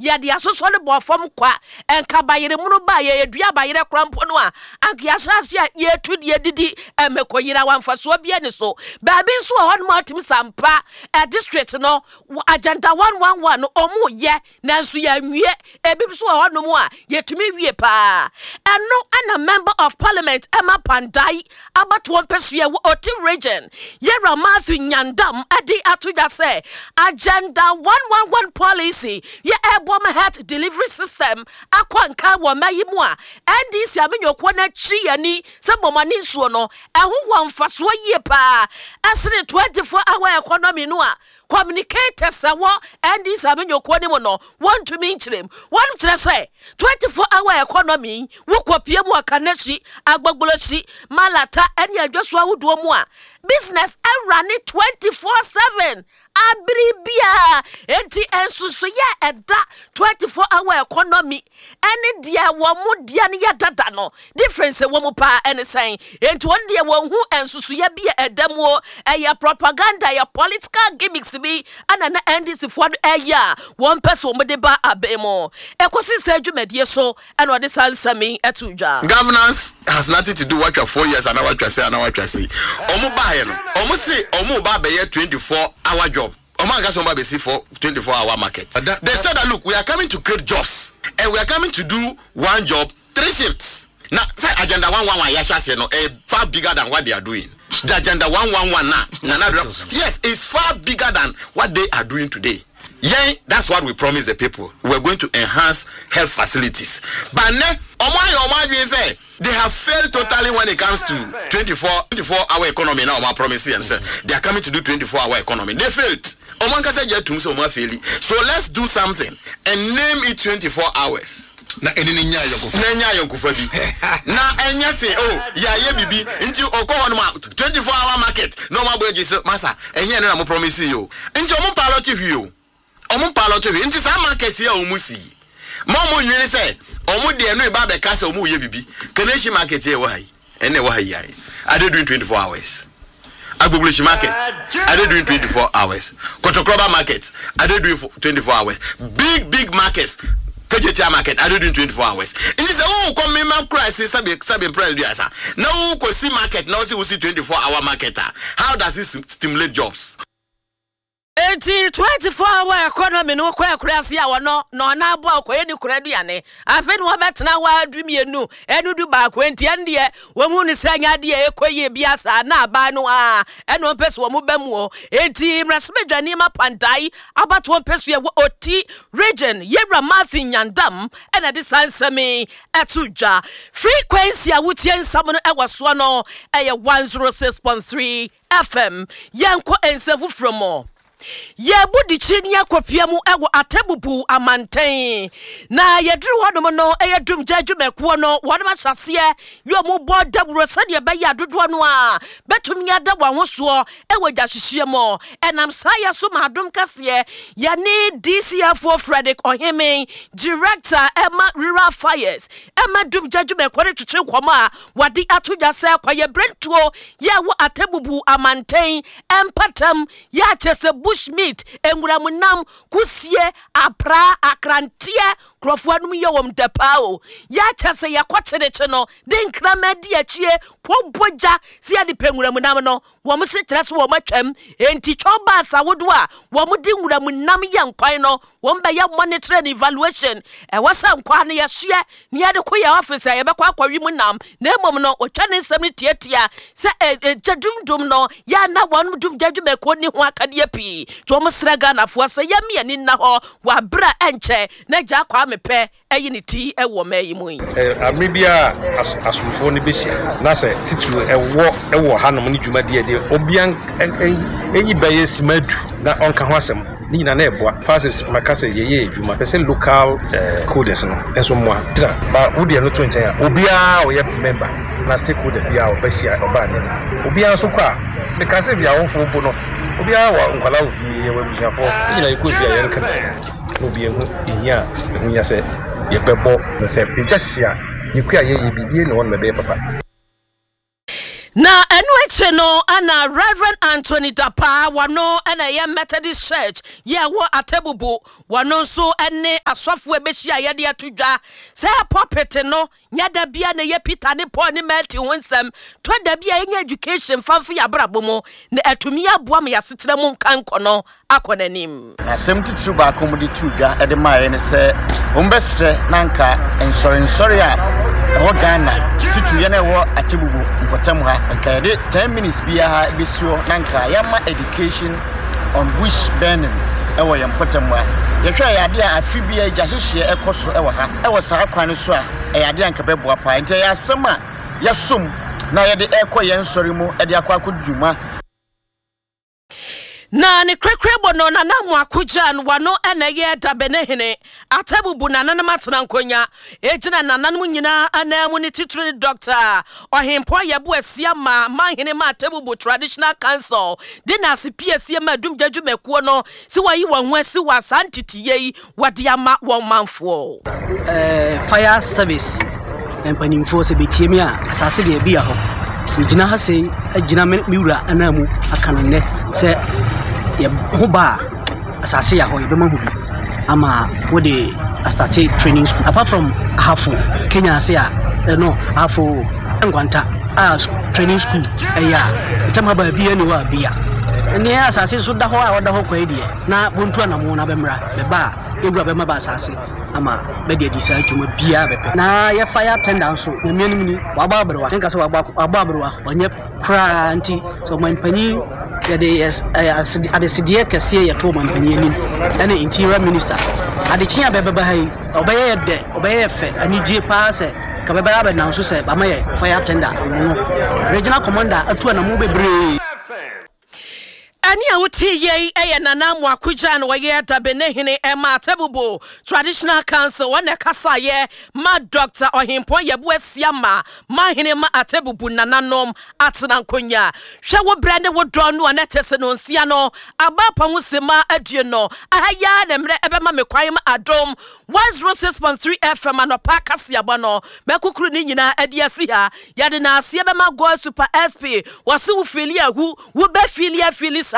yɛde asosɔ no bɔɔ fam kwa. Nka bayerɛ mono ba a yɛdua bayerɛ koraa mpo no a, anka yɛahyɛ ase a yɛtu deɛ didi mmɛkɔ yera wa mfasoɔ biara ni so. Baabi nso wɔ hɔnom a wotumi sɛ ampa district no agenda 111 no ɔmo yɛ nanso yɛanwie. Ebi nso wɔ hɔnom a yɛtumi wie paa. Ɛno na Member of Parliament ɛma Pandai abatoɔ mpɛsoa wɔ Oti Region, Yɛwura Matthew Nyandam de ato dwa sɛ Agenda 111 policy yɛ ɛreboa ma health delivery system akɔ nkan wɔ mma yi mu a NDC amanyɔkuo no akyi yɛn ani sɛ bɔmɔne nsuo no ɛho wɔ mfasoɔ yie paa ɛsene 24 hour economy no a Communicators a wɔ NDC amanyɔkuo no mu no, wɔntumi nkyerɛ mu. Wɔn kyerɛ sɛ 24 hour economy yi, wokɔpie mu wɔ Kaneshie, Agbogbloshie, Malata ne adwaso ahodoɔ mu a, business rane 24/7 abere biara. Enti nsusuiɛ a ɛda 24 hour economy ɛne deɛ wɔn deɛ no yɛ dada no difference ɛwɔ mu paa ɛne sɛn? Enti wɔn deɛ wɔn hu nsusuiɛ bi a ɛda mu o, ɛyɛ propaganda, ɛyɛ political gimmicks bi ɛna na NDC foɔ no ɛyɛ a wɔn pɛ sɛ wɔn de ba abɛn mu. Ɛkɔsi sɛ dwumadie so ɛna ɔde saa nsɛm yi ɛto dwa. Governance has nothing to do watwa 4 years anaa watwa sei anaa watwa sei. Ɔmo baeɛ no, ɔmo se ɔmo ba abɛyɛ 24 hour job. Ɔmo anka sɛ ɔmo ba abɛsi for 24 hour market. They said that, look, we are coming to create jobs and we are coming to do one job, three shifts. Na sɛ Agenda 111 yɛahyɛ aseɛ no, ɛyɛ far bigger than what they are doing. The Agenda 111 na Nana Addo, yes, it's far bigger than what they are doing today. Yɛn, that's what we promised the people. We are going to enhance health facilities. But nɛ, ɔmo ayɛ ɔmo adwene sɛ they have failed totally when it comes to 24 hour economy na ɔmo promise yɛn sɛ they are coming to do 24 hour economy. They failed. Ɔmo ankasa gye atum sɛ ɔmo afaili. So let's do something and name it 24 hours. Na ɛne ne nya ayɔnkofa. Na nya ayɔnkofa bi. Na ɛnyɛ se, oh, yɛayɛ bibi nti ɔkɔ hɔ nom a 24 hour market na ɔmo abɔ agye sɛ masa ɛnyɛ ɛno na mo promise yi o. Nti ɔmo pilot hwee o. Ɔmo pilot hwee. Nti saa market yi a ɔmo si yi, ma ɔmo nwene sɛ ɔmo deɛ no eba abɛka sɛ ɔmo yɛ bibi. Kaneshie market yi a ɛwɔ ha yi, ɛna ɛwɔ ha yi ayɛ. Are they doing 24 hours? Agbogbloshie market, are they doing 24 hours? Kotokroba market, are they doing 24 hours? Big, big markets, Kejetia market, are they doing 24 hours? Nti sɛ wokɔ mema kura si sɛbe sɛbe mpra aduasa na wokɔ si market na wosi wosi 24 hour market a, how does it stimulate jobs? Enti 24 hour economy no kɔ akuraase a ɔno na ɔno aboa ɔkɔyɛ ne kura aduane. Afei na wɔbɛtena hɔ ara du mmienu ɛne 11, enti ɛno deɛ wɔn hu no sɛ ɛnyɛ adeɛ a ɛkɔ yie bi saa na aban no a ɛna wɔn pɛ sɛ wɔn ba mu o. Enti mmarahyɛbadwa nneɛma Pandae abatoɔ mpɛsoa wɔ Oti Region, Yɛwura Matthew Nyandam ɛna de saa nsɛm yi ɛto dwa. Frequency a wotie nsɛm no ɛwɔ soɔ no ɛyɛ 106.3 FM. Yɛnkɔ nsɛm foforɔ mu. Yɛbu dikyiri ne akɔpia mu ɛwɔ Atebubu amanten na yɛduru hɔnom no, ɛyɛ dumgya adwumakuo no wɔnom ahyɛ aseɛ yɛ ɔmo bɔ dawuro sɛdeɛ ɛbɛyɛ adodoɔ no a bɛtumi ada wɔn ho soɔ ɛwɔ gyahyehyeɛ mu. Ɛnam saa yɛ so ma Adom Kɛseɛ yɛne DCFO Frederick Ɔheme, director ɛma rural fires ɛma dumgya adwumakuo no, twetwe nkɔmɔ a wɔde ato dwa sɛ kɔyɛ berentuo yɛ wɔ Atebubu amanten mpatam yɛ akyɛ sɛ bush meat, nwuramunam, kusie, apra, akranteɛ, nkurɔfoɔ anom yɛ wɔn dɛ paa o. Yɛ akyɛ sɛ yɛkɔ kyerekye no de nkraman di akyie kɔbɔ gya sɛ yɛde pɛ nwuramunam no, wɔn se kyerɛ sɛ wɔn atwam. Enti twɛw baas ahodoɔ a wɔn de nwuramunam yɛ nkwan no, wɔn bɛyɛ monitor and evaluation. Ɛwɔ sɛ nkwan no yɛhyeɛ ne yɛde kɔ yɛ office a yɛbɛkɔ akɔwe mu nam, na mmom no wɔtwa ne nsɛm no tiatia sɛ ɛgya dumdum no yɛ na wɔn dum gya dwumakuo ni ho akadeɛ pii, nti wɔn srɛ Ghanafoɔ sɛ yɛmme ani nna hɔ wɔ abere a ɛnkyɛ na gya akɔ amepɛ ɛyi ne ti ɛwɔ mmaa yi mu yi. Abere biara asomfoɔ no bɛhyia na sɛ titiri ɛwɔ ɛwɔ hanom ne dwumadie deɛ obia ɛyi bɛyɛ sima du na ɔnka ho asɛm ne nyinaa na ɛboa fa sɛ maka sɛ yɛyɛ adwuma pɛ sɛ local coders no nso mmoa tena ba wodeɛ no to nkyɛn a, obiara ɔyɛ member na stakeholder biara ɔbɛhyia ɔbaa ne no, obiara nso kɔ a meka sɛ bi awofoɔ mpo no, obiara wɔ nkwadaa wɔ fie, yɛwɔ abusuafoɔ ne nyinaa yɛkɔ fie a yɛnka na obi ehu ehia a ɛho hia sɛ yɛbɛbɔ no sɛ egya hye a yɛkua a yɛyɛ biribi na wɔn bɛbɛyɛ papa. Na ɛno akyi. akyi no ana Rev. Anthony Dapaah, wɔno na ɛyɛ Methodist Church yi a ɛwɔ Atebubu, wɔno nso ne asɔfoɔ ɛbɛhyia a yɛde ato dwa sɛ pulpit no nyɛ da bia na ɛyɛ Peter ne Paul ne Matthew ho nsɛm, tɔ da bi a yɛnya education fa mfa yɛn abrabɔ mu na atumi aboa ma yɛn asetena mu nkankɔ no akɔ n'anim. Na asɛm titiriw baako a wɔde too dwa de maeɛ ne sɛ wɔbɛsrɛ na anka nsɔrensɔre a ɛwɔ Ghana, titiriw yɛn a ɛwɔ Atebubu mpɔtam ha, anka yɛde 10 minutes biara bɛsi hɔ na anka yɛama education on bush burning wɔ yɛn mpɔtam ha. Yɛhwɛ a ɛyɛ adeɛ a afe biara gya hyehyeɛ ɛkɔ so wɔ ha. Wɔ saa kwan no so a, ɛyɛ adeɛ a anka ɛbɛboa paa. Nti ɛyɛ asɛm a yɛasom na yɛde rekɔ yɛn nsɔre mu de akɔ akɔdi dwuma. Na ne korakorabɔ no, Nana Amoako Gyan, wano na ɛyɛ Dabenehene, Atabubu nananom atena nkonya, egyina nananom nyinaa ananmu ne titire ne Dɔkta Ɔhempɔn Yeboah Asiamah, Manhene ma Atabubu Traditional Council, de n'ase piesie ma Adumgya dwumakuo no sɛ wɔayi wɔn ho asi wɔ saa nteteyɛ yi wɔde ama wɔn manfoɔ. Fire service mpanimfoɔ sɛ bɛtie me a, asase deɛ bi hɔ. Megyina ha sei agyina me me wura ananmu aka no nnɛ sɛ yɛ ho ba a, asase yɛ hɔ yɛbɛma ho bi ama wode astate training school. Apart from Ahafo, Kenya ase a, no Ahafo Nkwanta a training school ɛyɛ a, ntam ha baabi ani hɔ a bia. Ɛneɛ asase so da hɔ a ɔda hɔ kwa yi deɛ, na bontu anamo na bɛmmra. Bɛba a, yɛn wura bɛma bɛ asase ama bɛde adi saa dwuma biara bɛpɛ. Na yɛ fire tender nso, Nyame anim ni, wabɔ aberewa. Menka sɛ wabɔ wabɔ aberewa, ɔnyɛ koraa nti sɛ ɔmanpanyin yɛde yɛ adesedeɛ kɛseɛ yɛto ɔmanpanyin anim ɛne interior minister. Adekye a bɛbɛba ha yi, ɔbɛyɛ yɛ dɛ, ɔbɛyɛ yɛ fɛ, anigye paa sɛ ka bɛbɛ abɛnam so sɛ bama yɛ fire tender no. Regional commander atu anamo bebree. Ɛnne a wotee yei yɛ Nana Amoako Gyan, ɔyɛ Dabenehene ma Atebubu Traditional Council, ɔna ɛkasaeɛ ma Dɔkta Ɔhempɔn Yeboah Asiamah, Manhene ma Atebubu Nananom atena nkonwa. Hwɛ wo berɛ ne wo dɔ no a na ɛkyɛ sɛ nonsia no aba apa ho simma aduonu. Aha yi ara na mmerɛ ɛbɛma me kwan ma Adom 106.3 FM anɔpa kaseɛbɔ no mɛkokoro ne nyinaa adi asi ha. Yɛde naaseɛ bɛma God Super SP wɔse wo feeli ahu wo bɛ feeli afeeli saa.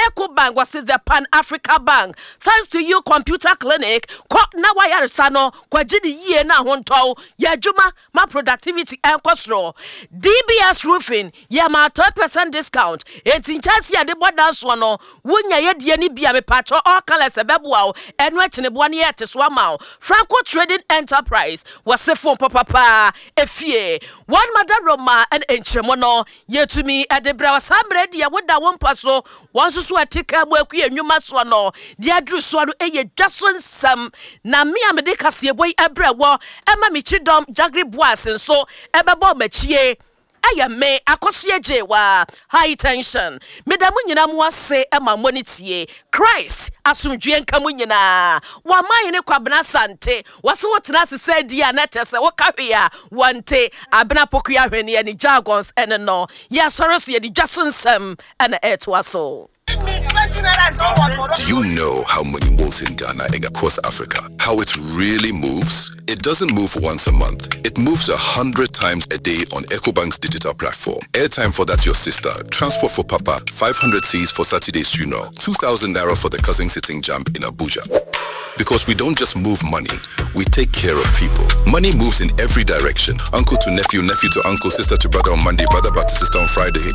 Eco Bank wɔse the Pan Africa Bank thanks to you Computer Clinic kɔ na wayaresa no kɔgye ne yie na ahontɔw yɛ adwuma ma productivity ɛnkɔ soro. DBS Roofing yɛ ma 10% discount enti nkyɛnse yɛde bɔ dan soɔ no wonya yɛ deɛ no bi a mepakyɛw all colours ɛbɛboa wo ɛno akyeneboa no yɛte so ama wo. Franco Trading Enterprise wɔse phone papapaa efie wɔn madaroma ɛna nkyerɛmu no yɛtumi ɛde brɛ wo saa mmerɛ deɛ woda wo mpa so wɔn nso so ɛte kaa mu akue nnwuma soɔ no deɛ aduru soɔ no ɛyɛ dwa so nsɛm na me a mede kaseɛbɔ yi ɛbrɛ wɔ ɛma me kyidɔm Jagri Boas nso ɛbɛbɔ m'akyie Ɛyɛ me akɔsoɛ gyee wa high tension. Meda mo nyinaa mo ase ma mo ne tie. Christ asomdwie nka mo nyinaa. W'amanhene Kwabena Asante wɔse wo tena ase sɛ die a na kyerɛ sɛ wo ka hwee a wɔnte. Abena Pokuya Ahweneɛ ne jargons ɛne no. Yɛsɔre so yɛde dwa so nsɛm ɛna ɛtoa so. Do you know how money moves in Ghana and across Africa? How it really moves? It doesn't move once a month. It moves 100 times a day on EcoBank's digital platform. Airtime for that's your sister, transport for papa, 500 C's for Saturday's funeral, 2,000 naira for the cousin sitting jump in Abuja. Because we don't just move money, we take care of people. Money moves in every direction. Uncle to nephew, nephew to uncle, sister to brother on Monday, brother back to sister on Friday.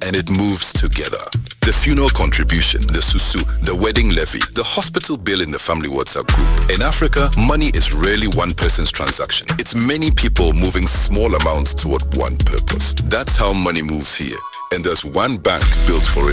And it moves together. The funeral contribution, the susu, the wedding levy, the hospital bill in the family WhatsApp group. In Africa, money is rarely one person's transaction. It's many people moving small amounts toward one purpose. That's how money moves here. And there's one bank built for it.